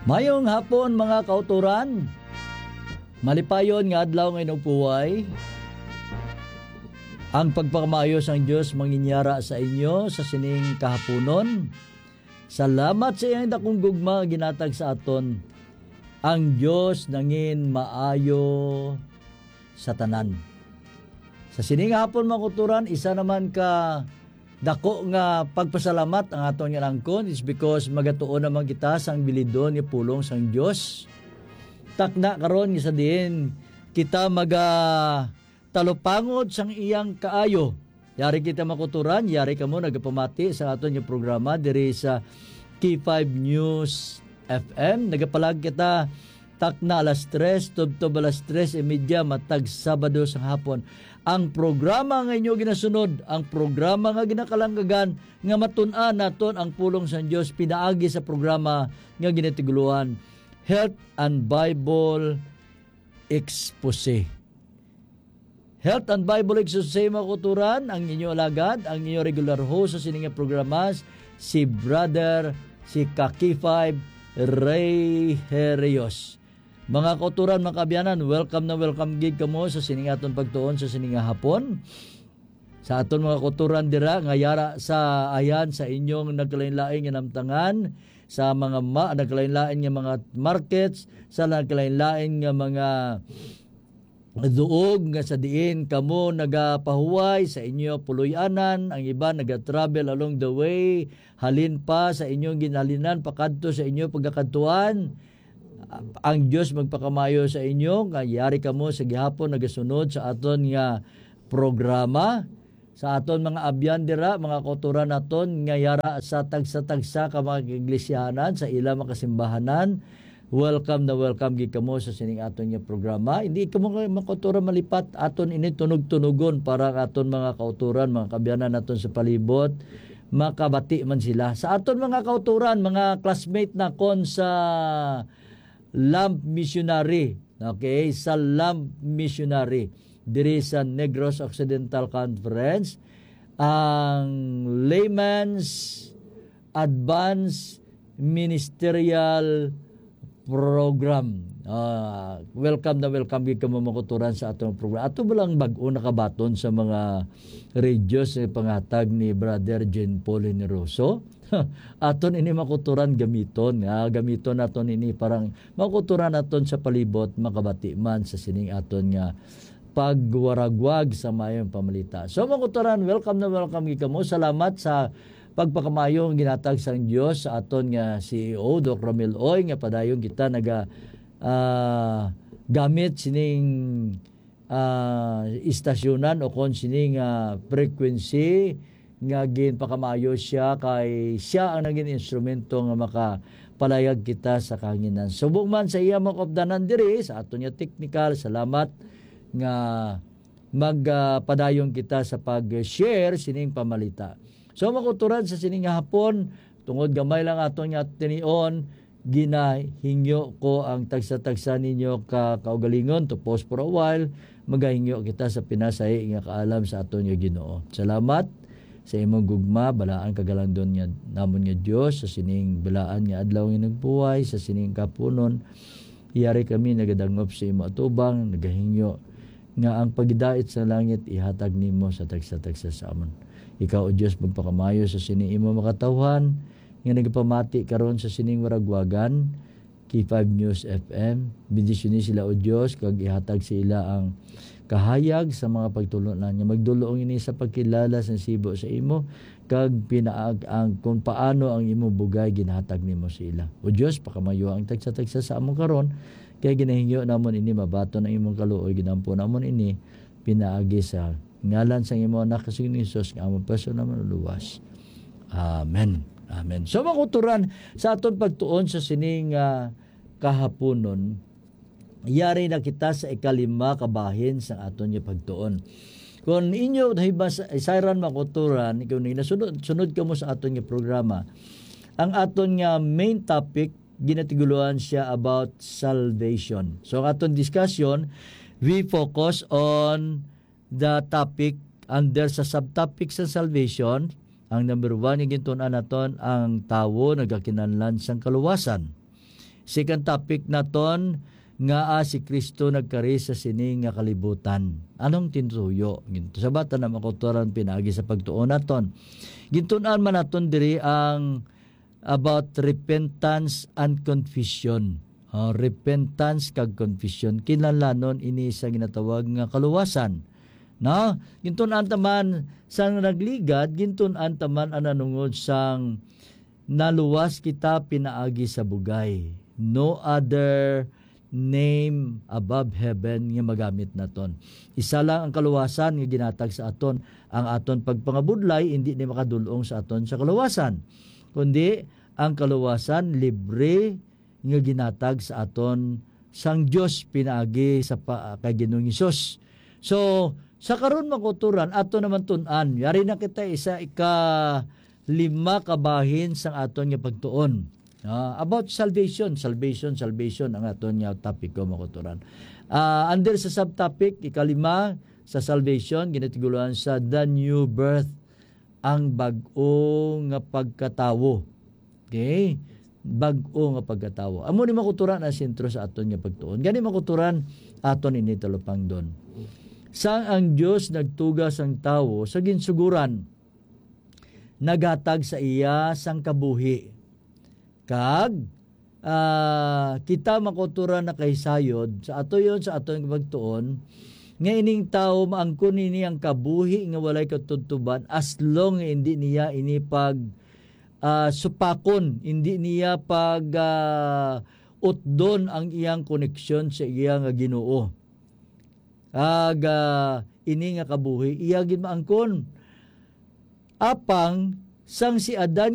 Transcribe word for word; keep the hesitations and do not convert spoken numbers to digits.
Mayong hapon, mga kauturan. Malipayon nga adlaw nga inugpuway. Ang pagpakamaayo sang Dios manginyara sa inyo sa sining kahaponon. Salamat sa iyang dakong gugma nga ginatag sa aton. Ang Dios nangin maayo sa tanan. Sa sining hapon, mga kauturan, isa naman ka dako nga pagpasalamat ang aton nga nangkon is because magatuon naman kita sang bilidon nga pulong sang Dios. Takna karon nga sa diin kita maga talupangod sang iyang kaayo. Yari kita, mga kauturan, yari kamo nagapamati sa aton nga programa diri sa K five News F M. Nagapalag kita takna alas tres, tubtob alas tres y media, matag Sabado sang hapon. Ang programa nga inyo ginasunod, ang programa nga ginakalanggagan, nga matun-an naton ang pulong sang Dios pinaagi sa programa nga ginatiguloan Health and Bible Expose. Health and Bible Exercise, mga kauturan, ang inyo alagad, ang inyo regular host sa sining nga programas, si Brother, si ka K five, Ray Herios. Mga kauturan, mga kaabyanan, welcome na welcome gid kamo sa sining aton pagtuon sa sining nga hapon. Sa aton mga kauturan dira nga yara sa ayan sa inyong nagkalain-lain nga namtangan, sa mga ma-, nagkalain-lain nga mga markets, sa nagkalain-lain nga mga duog nga sa diin kamo nagapahuway sa inyo puloy-anan, ang iban naga-travel along the way, halin pa sa inyong ginhalinan pakadto sa inyo pagakadtuan. Ang Dios magpakamayo sa inyo, nga yari kamo sa gihapon nagasunod sa aton nga programa. Sa aton mga abyan dira, mga kauturan naton nga yara sa tagsa-tagsa ka mga kaiglesyaanan, sa ila mga kasimbahanan, welcome na welcome gid kamo sa sining aton nga programa. Hindi kamo nga mga kauturan malipat, aton ini tunog-tunogon para aton mga kauturan, mga kaabyanan naton sa palibot, makabati man sila. Sa aton mga kauturan, mga classmate nakon sa Lamp Missionary, okay, sa Lamp Missionary, diri sa Negros Occidental Conference, ang Layman's Advanced Ministerial Program. Ah, welcome na welcome gid kamo, mga kauturan, sa atong program. Ato ba lang bag-o nakabaton sa mga radios nga pangatag ni Brother Jean Paul Generoso? Aton ini, mga kauturan, gamiton. Ah, gamiton naton ini para ang mga kauturan naton sa palibot makabati man sa sining aton nga pagwaragwag sa mayong pamalita. So, mga kauturan, welcome na welcome gid kamo. Salamat sa pagpakamayo nga ginatag sang Dios sa aton nga C E O, Doc Romel Oy, nga padayon kita naga, ah, gamit sining, ah, istasyonan o kon sining, ah, frequency nga ginpakamayo siya, kay siya ang naging instrumento nga makapalayag kita sa kahanginan. Subong man sa iya mga kaupdanan diri sa aton nga technical, salamat nga mag, ah, padayon kita sa pag-share sining pamalita. So, mga kauturan, sa sining nga hapon, tungod gamay lang aton nga tinion, ginahingyo ko ang tagsa-tagsa ninyo ka kaugalingon to pause for a while, magahingyo kita sa pinasahi nga kaalam sa aton nga Ginoo. Salamat sa imong gugma, balaan kag halangdon nga namon nga Dios, sa sining balaan nga adlaw nga nagbuhay, sa sining kapunon, yari kami nagadangop sa imo atubang, nagahingyo nga ang pagdait sa langit ihatag nimo sa tagsa-tagsa sa amon. Ikaw, O Dios, magpakamayo sa sini imo makatawhan nga nagapamati karon sa sining waragwagan, K five News F M. Bendisyoni sila, O Dios, kag ihatag sa ila ang kahayag sa mga pagtulon-an nga magdulong ini sa pagkilala sa sibo sa imo, kag pinaag ang kung paano ang imo bugay ginhatag nimo sa ila. O Dios, pakamayo ang tagsa-tagsa sa amon karon, kay ginahingyo namon ini mabaton ang imong kaluoy, ginampo namon ini pinaagi sa ngalan sang imo anak nga si Jesus nga amon personal nga Manluluwas. Amen. Amen. So, mga kauturan, sa aton pagtuon sa sining, ah, kahaponon, yari na kita sa ikalima ka bahin sa aton nga pagtuon. Kung inyo nahibas-, isayran, mga kauturan, kung nasunod, sunod kamo sa aton nga programa, ang aton nga main topic, ginatiguloan siya about salvation. So, ang aton discussion, we focus on the topic under sa subtopic sa salvation. Ang number one nga gintun-an naton, ang tawo nagakinahanglan sang kaluwasan. Second topic naton, nga, ah, si Kristo nagkari sa sini nga kalibutan. Anong tinutuyo? Gin-, sabatan na makuturan pinaagi sa pagtuon naton. Gintun-an man naton diri ang about repentance and confession. Ah, repentance kag confession. Kinahanglanon ini sa ginatawag nga kaluwasan. No? Gintun-an ta man sang nagligad, gintun-an ta man ang nanungod sang naluwas kita pinaagi sa bugay. No other name above heaven nga magamit naton. Isa lang ang kaluwasan nga ginatag sa aton. Ang aton pagpangabudlay, hindi ni makadulong sa aton sa kaluwasan. Kundi, ang kaluwasan, libre nga ginatag sa aton sang Dios pinaagi sa pa, kay Ginoong Hesus. So, sa karon, mga kauturan, ato naman tun-an. Yari na kita isa ika lima ka bahin sang aton nga pagtuon. Ah, about salvation, salvation, salvation ang aton nga topic ko, mga kauturan. Ah, under sa subtopic, ikalima sa salvation, ginatigulangan sa the new birth, ang bag-o nga pagkatawo. Okay? Bag-o nga pagkatawo. Amo ni, mga kauturan, ang sentro sa aton nga pagtuon. Gani, mga kauturan, aton ini talupangdon. Sang ang Dios nagtuga sang tawo sa ginsuguran, naghatag sa iya sang kabuhi. Kag, ah, kita, mga kauturan, nakahisayod sa ato yon, sa aton pagtuon, nga ining tawo maangkon ini ang kabuhi nga walay katubtoban as long nga hindi niya ini pag, ah, supakon, hindi niya pag, ah, utdon ang iyang koneksyon sa iya nga Ginoo. Kag, ah, ini nga kabuhi iya gid maangkon. Apang sang si Adan